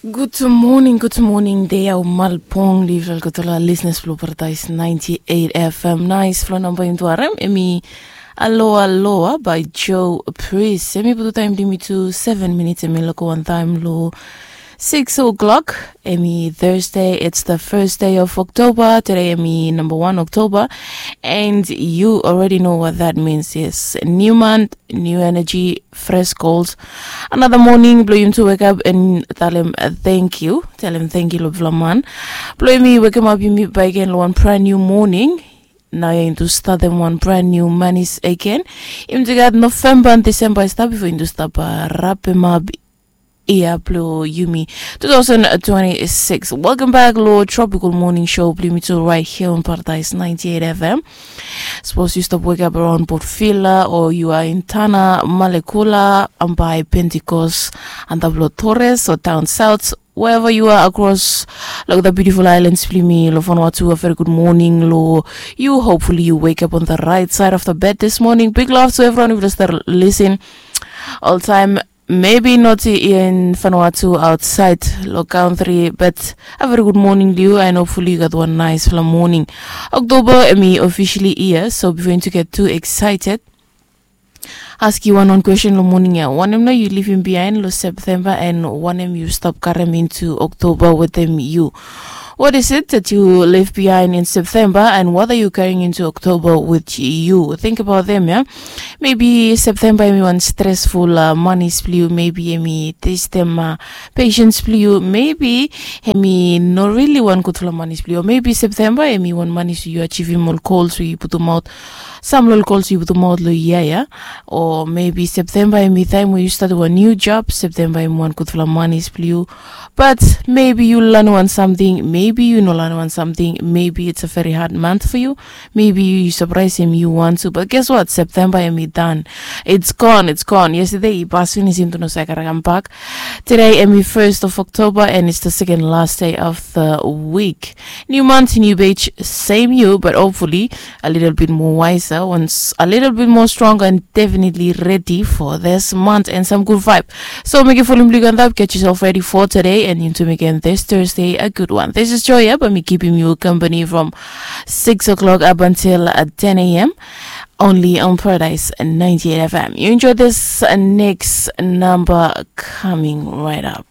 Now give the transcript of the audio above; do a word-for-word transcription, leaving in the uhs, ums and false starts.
Gud moning, gud moning, dei au malpong liv ol gutala listeners blong Paradise ninety eight F M. Nais flo namba yumi tu harem, emi Aloha Aloha by Joe Priest. Emi putu taem blong yumi tu seven minutes, emi loko wan taem lo six o'clock. Emi Thursday, it's the first day of October. Today emi namba wan October. And you already know what that means, yes. New month, new energy, fresh goals. Another morning, blong yumi tu wake up and talem, uh, thank you. Talem thank you lo bifala man. Blong yumi wekem ap yumi bakegen lo wan brand new morning. Naoia yumi tu statem wan brand new manis again. Yumi tu gat November and December i stap bifo yumi tu stap, uh, rapem ap yia blong yumi two thousand twenty-six. Welcome back lo Tropical Morning Show blong yumi tu right here on Paradise ninety eight F M. Sapos yu stap wake up around Port Vila, o yu are in Tanna, Malekula, Ambae, Pentecost, antap lo Torres o Down South, wherever you are across, like, the beautiful islands blong yumi lo Vanuatu, a very good morning lo yu. Hopefully you wake up on the right side of the bed this morning. Big love to everyone who just start listen all time. Maybe not in Vanuatu, outside lo country, but a very good morning to you, and hopefully you gat wan naesfala morning. October emi officially hia, so bifo yumi tu get too excited, askem wan wan kwestin lo morning ya. Wanem nao yu livim biaen lo September, and wanem yu stap karem into October wetem yu? What is it that you leave behind in September, and what are you carrying into October with you? Think about them, ya. Maybe September emi wan stresful, uh, manis blong yu. Maybe emi testem, uh, patience blong yu. Maybe emi no really wan gudfala manis blong yu. Maybe September emi wan manis yu achivim ol gols we yu putumaot, sam lo ol gols yu putumaot lo yia ya. O maybe September emi taem we yu statem wan new job. September emi wan gudfala manis blong yu. But maybe yu lanem wan samting, maybe yu no lanem wan samting, maybe it's a very hard month for you. Maybe yu sapraesem yu wan tu, but guess what? September emi dan. It's gone, it's gone. Yestade i pas finis, yumi tu no save kare kambak. Today emi first of October, and it's the second last day of the week. New month, new page, same you, but hopefully a little bit more wiser, once a little bit more stronger, and definitely ready for this month and some good vibe. So mekem folem blong yu go antap, get yourself ready for today, and yumi tu mekem this Thursday a good one. This is Joya, bae mi kipim yu company from six o'clock up until, uh, ten a.m., only on Paradise ninety eight F M. You enjoy this, uh, next number coming right up.